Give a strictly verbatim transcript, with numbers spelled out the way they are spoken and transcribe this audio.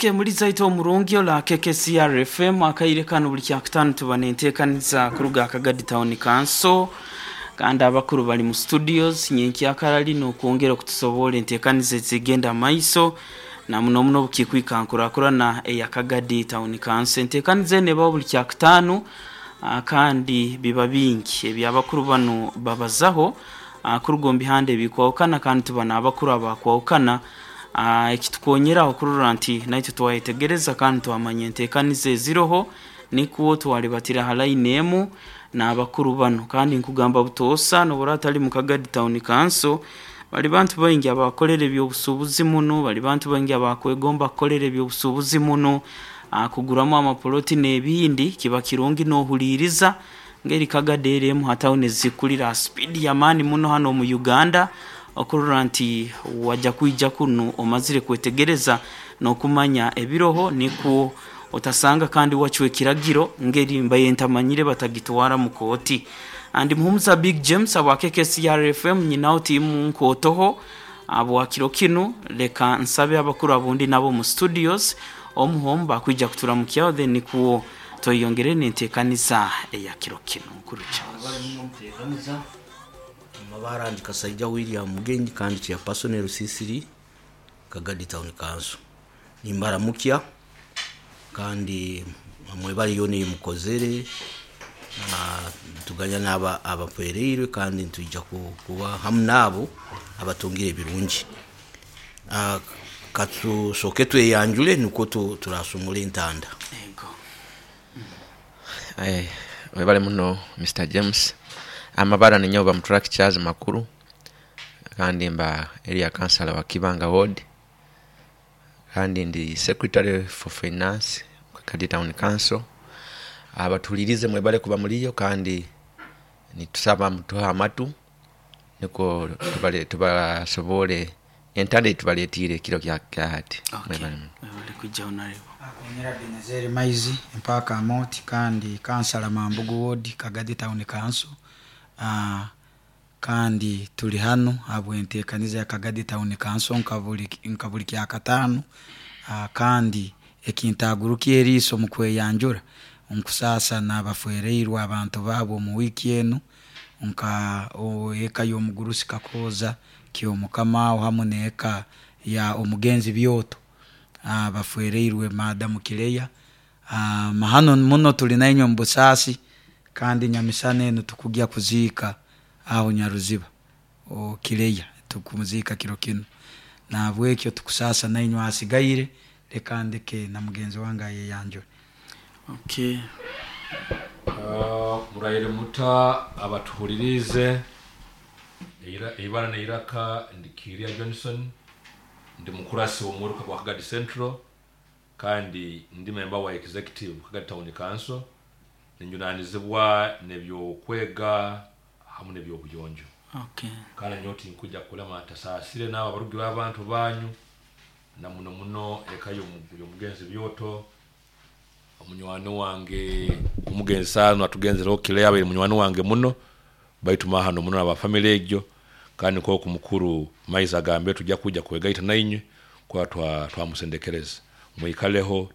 Okay, muri zaito omurungi ola K K C R F M. Akaire kano buli kyakutano tuba nenteekaniza kuruga Kagadi Town Council, kandi abakuru bali mu studios nyenkyakara lino okwongera okutusobola enteekaniza ezigenda maiso, na muno muno obukikwika nkurakurana eya Kagadi Town Council. Enteekaniza eno ebaho buli kyakutaano, ah, kandi biba bingi ebyabakuru bano babazaho, ah, kuruga omu bihanda ebikwahukana, kandi tuba n'abakuru abakwahukana. Ah, ekitukonyeraho kurora nti naitwe twayetegereza kandi twamanya enteekaniza eziroho, nikwo twalibatira ha line emu n'abakuru bano. Kandi nkugamba butoosa, nobura atali mu Kagadi Town Council, bali bantu baingi abakolera ebyobusuubuzi muno, bali bantu baingi abakwegomba kukolera ebyobusuubuzi muno, ah, kuguramu amapoloti n'ebindi. Kiba kirungi n'ohuliiriza ngeri Kagadi eri emu ha tawuni ezikulira ha speed y'amaani muno hano mu Uganda, okurora nti wajja kwija kunu omazire kwetegereza n'okumanya ebiroho, nikwo otasanga kandi wacwa ekiragiro ngeri mbaye ntamanyire batagitwara mu kooti. Andi Muhumuza Big James abwa K K C R F M, nyinaho tiimu nkootoho abwa kiro kinu. Leka nsabe abakuru abundi nabo mu studios omuhomu bakwija kuturamukyaho, then nikwo tweyongere n'enteekaniza eya kiro kino. Mukuru Charles. Bali muno muteekaniza amabara. Ndi Kasaija William Mugenyi kandi chairperson Rusisiri, Kagadi Town Council. Nimbaramukya kandi mwebale yoona eyimukozere. Ah, tuganya n'aba abafwereirwe kandi nitwija ku- kuba hamu naabo abatungire ebirungi. Ah, katusooke tweyanjule nukwo tu- turasumura entanda. Ego. Eh, webale muno, Mister James. Amabara ninyowe Bamuturaki Charles Makuru, kandi mba area councillor wa Kibanga Ward, kandi ndi secretary for finance Kagadi Town Council. Abatulirize mwebale kuba muliyo, kandi nitusaba mutuhe amatu niko tubale tubasobole entanda etubaletiire ekiro kya kya hati. Okay. Mwebale muno. Webale kwijja, honorable. Akonyera Benezeri Maizi mpaka Amoti kandi kansala Mambugu Ward, Kagadi Town Council. Ah, kandi tuli hano habwenteekaniza ya Kagadi Town Council nka buli nka buli kyakataano. Ah, kandi ekintaguruka eriiso mu kweyanjura, nkusaasa n'abafwereirwe abantu baabo omu wiiki enu, nka o- eka y'omugurusi Kakooza Kyomukama hamu n'eka ya omugenzi Byoto. Ah, bafwereirwe madamu Kireya. Ah, mahano muno, tuli nainywe mu busaasi, kandi nyamisana enu tukugya kuziika aho Nyaruziba o Kireya, tukumuziika kiro kinu. Nahabwekyo tukusaasa nainywe asigaire. Leka ndeke na mugenzi wange ayeyanjure. Okay. Ah, murayire muta abatuhulirize. Eira- eibara neiraka ndi Kiria Johnson, ndi mukurasi w'omuruka gwa Kagadi Central kandi ndi member wa executive Kagadi Town Council, ninjunanizibwa nebyokwega hamu nebyobuyonjo. Okay. Kandi nyowe tinkuja kulema tasaasire n'abo abarugi b'abantu banyu, na muno muno eka y'omu- y'omugenzi Byoto, omunywani wange omugenzi saano atugenzereho kile, abaire munywani wange muno, baitu mahano muno abafamily egyo. Kandi nk'oku mukuru Maizi agambe, tujja kujja kwegaita nainywe kuba twa twamusendekereza mwikaleho.